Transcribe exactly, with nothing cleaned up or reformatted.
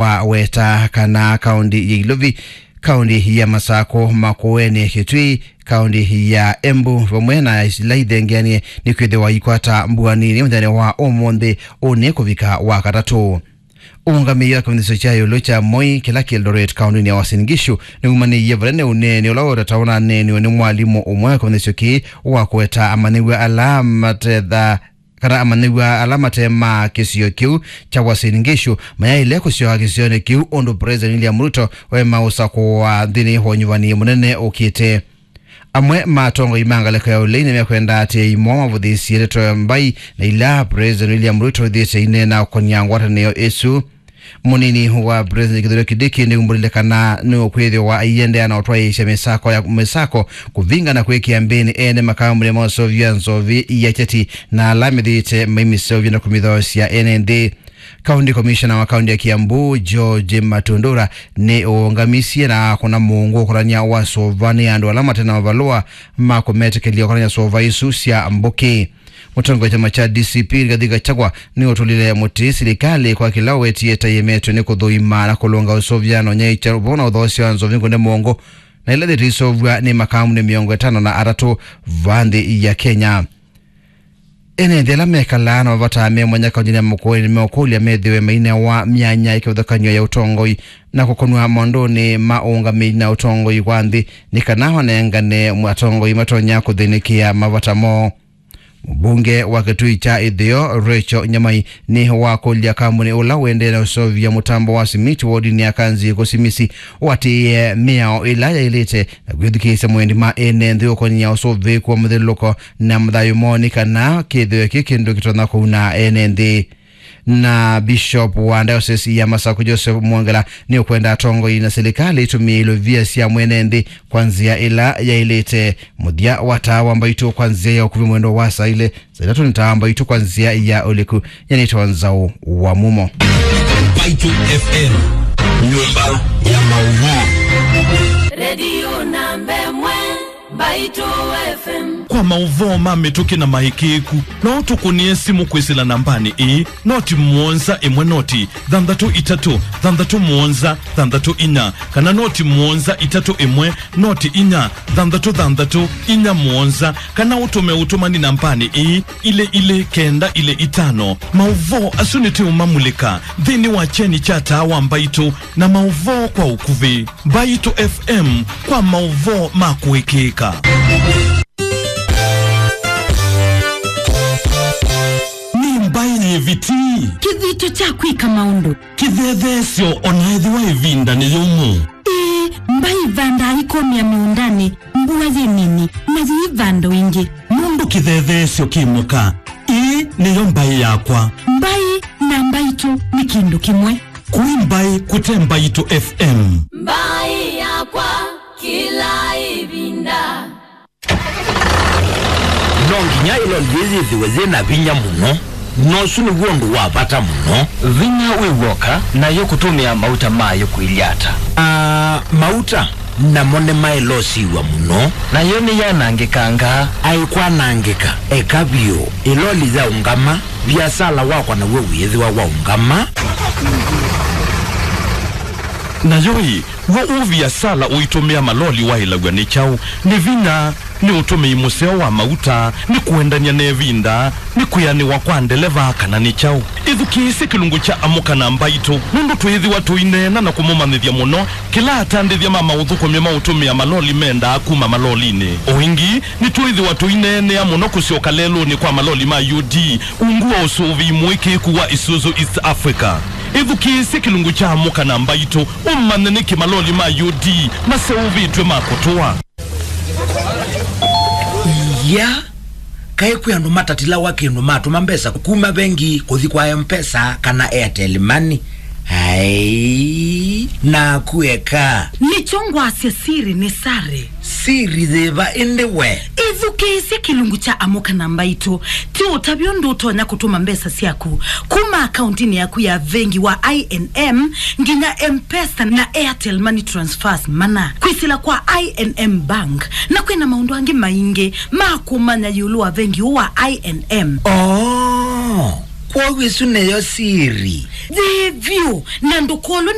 wa weta kana kaũnti ya Ilovi, kaũnti ya Masako, Makueni, Kitui, kaũnti ya Embu, vamwe na ila ithengeanie nĩ kwĩthĩwa ikwata mbua nini mũthenya wa ũmũnthĩ, ũnĩ kũvika wa katatũ. Ũũngamĩi wa kĩvĩndĩsyo kya ĩũlũ kya Moi, kĩla kĩ Eldoret, kaũntĩnĩ ya Uasin Gishu, nĩwumanĩie vanene ũneeni ũla ũtatawa na aneeni nĩ mwalimũ ũmwe wa kĩvĩndĩsyo kĩĩ wa kũweta amanyĩw'a ala matetha kana amanyĩw'a ala mate ma kĩsio kĩu kya Uasin Gishu mayaĩle kũsyoka kĩsionĩ kĩu ũndũ President William Ruto wema ũsakũwa nthĩnĩ wa ũnyuvani mũnene ũkĩte. Amwe ma atongoi ma ngalĩko ya ũlei nĩmekwenda atĩ imo mavũthĩĩsye ndeto ya mbai na ila President William Ruto wĩthĩĩte aineena ũkonia ngwatanĩo ĩsu. Mũnini wa President Kithure Kindiki nĩumbũlile kana nĩũkwĩthĩwa aiendeea na ũtwaĩĩsya mĩsako ya mĩsako kũvinga na kwĩkĩa mbĩnĩ ene makambuni ma ũseũvya nzovi ya kyeti na ala methĩĩte maimĩseũvya na kũmĩthaũsya ene nthĩ. County Commissioner wa kaunti ya Kiambu, George Matundura, nĩ ũũngamisye na kũna mũungu ũkonania wa sova nĩ andũ ala mate na mavalũa ma kũmetĩkĩlya ũkonania sova isu sya mbũkĩ. Mũtongoi wa kyama kya D C P, Rigathi Gachagua, nĩ ũtũlile mũtĩ silikalĩ kwa kĩla ũwetie ta ĩemetwe nĩ kũthũima na kũlũnga ũseũvya na ũnyaĩĩkya ũvoo na ũthoosya wa nzovi ngũne mũungu na ila yĩtĩseũvw'a nĩ makambuni mĩongo ĩtano na atatũ va nthĩ ya Kenya. Ene nthĩ ala mekalaa na mavata me mwanya kauntinĩ ya Makueni nĩmeũkũlya methĩwe mainewa myanya ya kĩvathũkany'o ya ũtongoi na kũkonw'a maũndũnĩ ma ũũngamĩi na ũtongoi wa nthĩ, nĩ kana manengane atongoi matonya kũthĩnĩkĩa mavata moo. Mũmbunge wa Kitui kya Ĩtheo, Rachel Nyamai, nĩ wakũlya kambuni ũla ũendee na ũseũvya mũtambo wa simiti wodinĩ ya Kanzi kũsimisi ũatĩĩe mĩao ĩla yaĩlĩte na kwĩthukĩĩsya mwendi ma ene nthĩ ũkonĩa ũsũvĩĩku wa mũthyũlũlũko na thayũ moo, nĩ kana kĩthĩo kĩ kĩndũ kĩtonya kũuna ene nthĩ. Na Bishop wa Diocese ya Masako, Joseph Mwongela, nĩ ũkwenda atongoi na silikalĩ itũmĩe ilovia sya mwene nthĩ kwa nzĩa ĩla yaĩlĩte. Mũthya wa taa wa Mbaitũ kwa nzĩa ya ũkuvĩ mwendo wa saa ilĩ, saa itatũ nĩ taa wa Mbaitũ kwa nzĩa ya ũliku. Nyanĩtwa Nzaũ wa Mumo. Mbaitũ F M, nyũmba ya maũvoo. Redio namba ĩmwe, Mbaitũ F M. Kwa maũvoo ma mĩtũkĩ na maĩkĩĩku, no ũtũkũnĩe simũ kwĩsĩla nambanĩ ĩĩ, noti mũonza ĩmwe noti thanthatũ itatũ thanthatũ mũonza thanthatũ inya, kana noti mũonza itatũ ĩmwe noti inya thanthatũ thanthatũ inya mũonza, kana ũtũme ũtũmani nambanĩ ĩĩ, ilĩ ilĩ kenda ilĩ itano. Maũvoo asu nĩtũũmamulĩka nthĩnĩ wa kyeni kya taa wa Mbaitũ na maũvoo kwa ũkuvĩ. Mbaitũ F M kwa maũvoo ma kũĩkĩĩka. Nĩ mbaĩ yĩviti. Kĩthito kya kwĩka maũndũ. Kĩthetheesyo, o na ethĩwa ĩvinda nĩ yũmũ. Ĩĩ, mbaĩ ivandaa ikomea mĩũndanĩ mbua yĩ nini, na yĩivanda o ĩngĩ. Nũndũ kĩthetheesyo kĩ mũka, ĩĩ nĩyo mbaĩ yakwa. Mbaĩ na Mbaitũ nĩ kĩndũ kĩmwe. Kũi mbaĩ kũte Mbaitũ F M. Mbaĩ yakwa kĩla ĩvinda. No nginya ĩloli yĩĩ yĩthĩwe yĩ na vinya mũno, na ũsu nĩw'o ũndũ wa vata mũno. Vinya wĩ w'oka, nayo kũtũmĩa mauta mayo kũilye ata? Aa, mauta namo nĩmaĩlosiw'a mũno. Nayo nĩyanangĩkangaa. Aikwanangĩka, eka vyũ. Ĩloli yaũngama, viasala wakwa naw'o wĩĩthĩwa waũngama. Nayo ĩ, w'o ũviasala ũitũmĩa maloli waĩlaw'a nĩ kyaũ? Nĩ vinya? Nĩ ũtũmĩi mũseo wa mauta? Nĩ kũendany'a na ĩvinda? Nĩ kwĩanĩwa kwa ndeleva, kana nĩ kyaũ? Ĩthukĩĩsye kĩlungu kya Amũka na Mbaitũ, nũndũ twĩĩthĩwa tũineena na kũmũmanyĩthya mũno kĩla atandĩthya ma maũthũkũmi ma ũtũmĩa maloli mendaa kuma malolinĩ. O ĩngĩ, nĩtwĩĩthĩwa tũineenea mũno kũsyoka lelũnĩ kwa maloli ma U D ungu wa ũsũvĩi mũĩkĩĩku wa Isuzu East Africa. Ĩthukĩĩsye kĩlungu kya Amũka na Mbaitũ ũmanye nĩkĩ maloli ma U D maseũvĩtw'e ma kũtũa. Ya, kaĩ kwĩ andũ matatilawa kĩndũ matũma mbesa kuma vengi kũthi kwa M-Pesa kana Airtel Money? Ai, naku eka. Nĩkyo ngwasya siri nĩ sare. Siri yĩva ĩndĩ we? Ĩthukĩĩsye kĩlungu kya Amũka na Mbaitũ. Ti ũtavya ũndũ ũtonya kũtũma mbesa syaku kuma akauntinĩ yaku ya vengi wa I N M nginya M-Pesa na Airtel Money transfers mana kwĩsĩla kwa I N M Bank, na kwĩna maũndũ angĩ maingĩ ma kũmanya ĩũlũ wa vengi ũũ wa I N M. Oh. Kwoou ĩsu nĩyo siri. Yĩ vyũ, na ndũkolwe